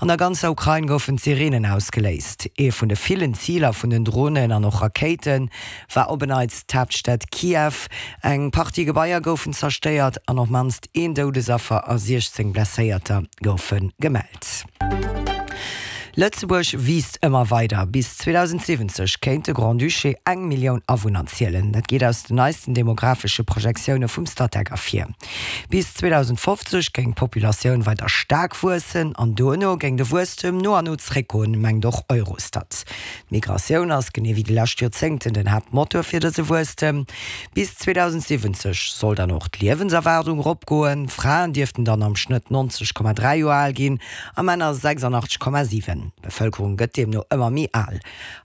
An der ganzer Ukrain goufen d'Sireenen ausgeléist. Ee vun de villen Ziler vun den Dronen an och Rakéite war op en Neits d'Haaptstad Kiew. Eng Partie Gebaier goufen zerstéiert an op mannst een Doudesaffer a 16 Blesséierter goufe gemellt. Lëtzebuerg wiisst ëmmer weider. Bis 2070 kéint de Grand-Duché eng Millioun Awunner zielen. Dat geet aus den neisten demographesche Projektioune vum Statec ervir. Bis 2050 géing d'Populatioun weider staark wuessen an duerno géing de Wuesstem no an no zréckgoen, mengt och Eurostat. D'Migratioun ass, genee wéi déi lescht Joerzéngten, den Haaptmotor fir dëse Wuesstem. Bis 2070 soll dann och d'Liewenserwaardung eropgoen. Fraen dierften dann am Schnëtt 90,3 Joer al ginn a Männer 86,7. D'Bevëlkerung gëtt deemno ëmmer méi al.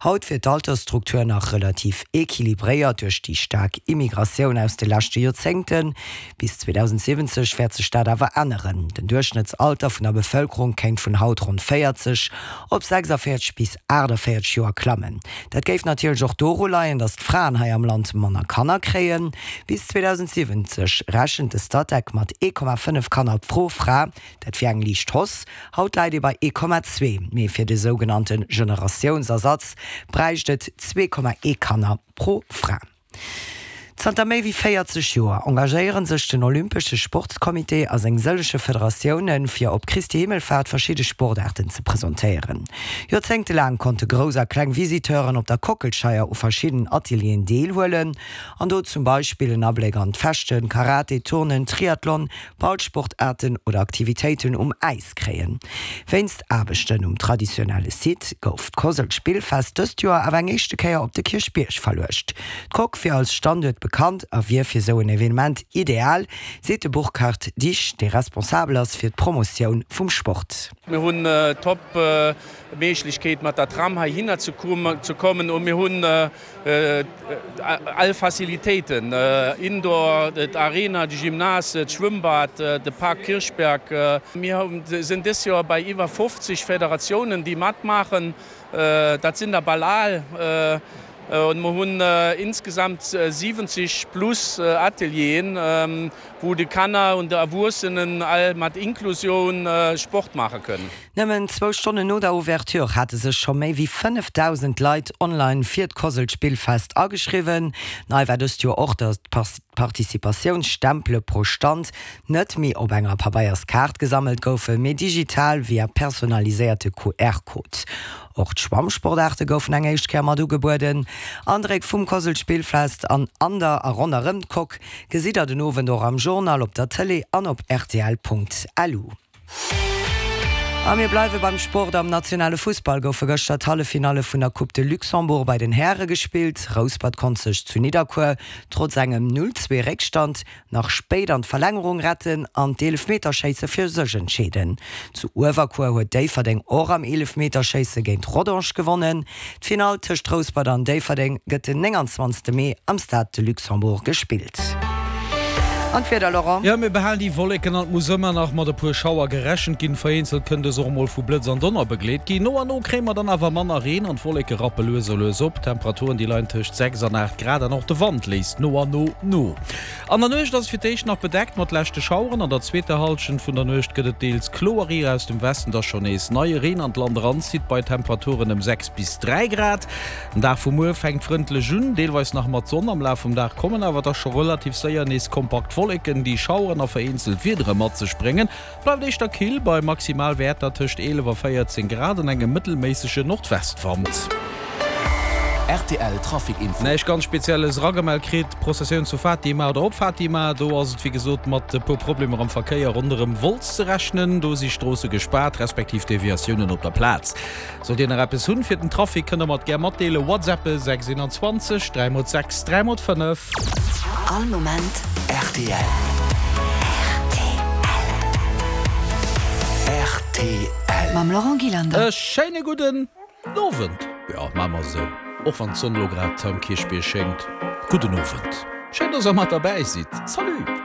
Haut wier d'Altersstruktur nach relativ equilibréiert duerch déi staark Immigratioun aus de leschte Joerzéngten. Bis 2070 wäert sech dat awer änneren. Den Duerchschnëttsalter vun der Bevëlkerung kéint vun haut ronn 40 op 46 bis 48 Joer klammen. Dat géif natierlech och doru leien, datt d'Fraen hei am Land manner Kanner kréien. Bis 2070 rechent de Statec mat 1,5 Kanner pro Fra. Dat wier eng liicht Hausse. Haut läit ee bei 1,2. Mee fir de sougenannte Generatiounsersatz bräicht et 2,1 Kanner pro Fra. Zanter méi wéi 40 Joer engagéiere sech den Olympesche Sportscomité a seng sëllege Federatioune fir op Christi Himmelfaart verschidde Sportaarten ze presentéieren. Joerzéngtelaang konnte grouss a kleng Visiteuren op der Kockelscheier u verschidden Atelieren deelhuelen an do zum Beispill en Abléck an d'Fechten, Karate, Turnen, Triathlon, Ballsportaarten oder Aktivitéiten um Äis kréien. Wéinst Aarbechten um traditionelle Site gouf d'Cosl-Spillfest dëst Joer awer eng éischte Kéier op de Kierchbierg verluecht. D'Coque wier als Standuert bekannt a wier fir sou en Evenement ideal, seet de Burkhard Dich, dee responsabel ass fir d'Promotioun vum Sport. Mir hunn top Méiglechkeet mat der Tram heihinner ze kommen un mir hunn All Facilitéiten, Indoor, d'Arena, de Gymnase, d'Schwëmmbad, de Park Kirchberg. Mir sinn dës Joer bei iwwer 50 Federatiounen, déi matmaachen. Dat sinn der bal al. An mer hunn insgesamt 70 plus Atelieren, wou de Kanner und de Erwuessenen all mat Inklusioun Sport maache kënnen. Nëmmen zwou Stonnen no der Ouverture hate sech scho méi wéi 5.000 Leit online fir d'Cosl-Spillfest ageschriwwen. Nei war dëst Joer och, datt d'Participatiounsstempele pro Stand net méi op enger Pabeierskaart gesammelt goufen, mee digital via personaliséierte QR-Code. Och d'Schwammsportaarte goufen eng éischt Kéier mat ugebueden. Andréck vum Cosl-Spillfest an an der a ronderëm d'Coque gesitt der den Owend och am Journal, op der Tëlee an op rtl.lu. A mir bleiwe beim Sport, Am nationale Fussball goufe gëschter d'Halleffinalle vun der Coupe de Luxembourg bei den Häre gespillt. Rouspert konnt sech zu Nidderkuer trotz engem 0, 2 Réckstand nach spéit an d'Verlängerung retten an d'Eelefmeterschéisse fir sech entscheeden. Zu Uewerkuer huet Déifferdeng och am Eelefmeterschéisse géint Rodange gewonnen. D'Finall tëscht Rouspert an Déifferdeng gëtt den 29 Mee am Stade de Luxembourg gespillt. An d'Wieder, Laurent? Jo, mir behalen déi Wolleken an et muss ëmmer nach mat e puer Schauer gerechent ginn. Vereenzelt kënn dës och emol vu Blëtz an Donner begleet ginn. No an no kréie mer dann awer manner Reen an d'Wolleke rappe lues a lues op. D'Temperaturen, déi leien tëscht 6 an 8 Grad an och de Wand léisst no an no no. An der Nuecht ass et fir d'éischt nach bedeckt mat leschte Schaueren. An der zweeter Hallschent vun der Nuecht gëtt et deels kloer, ier aus dem Westen da schonn nees neie Reen an d'Land eranzitt, bei Temperaturen ëm 6 bis 3 Grad. Den Dag vu muer fänkt frëndlech un, deelweis nach mat Sonn. Am Laf vum Dag kommen awer da scho relativ séier nees kompakt Wolleken, déi Schaueren a vereenzelt Wiedere mat sech bréngen. Et bleift éischter kill, bei Maximalwäerter tëscht 11 a 14 Grad an engem mëttelméissege Nordwestwand. Rtl Trafic Info. Näischt ganz Spezielles eragemellt kritt. D'Prozessioun zu Fatima oder op Fatima, do ass et wéi gesot mat e puer Problemer am Verkéier ronderëm Wolz ze rechnen. Do si Stroosse gespaart, respektiv Deviatiounen op der Plaz. Sollt Dir nach eppes hunn fir den Trafic, kënnt der mer et gär matdeelen. Whatsappe 6 21 3 x 6 3 x 5. All Moment rtl. Rtl. Mam Laurent Gillander. E schéine gudden Owend. Jo, maache mer esou. Och wann d'Sonn elo grad am Kierchbierg schéngt. Gudden Owend. Schéin, dass der mat derbäi sidd. Salut.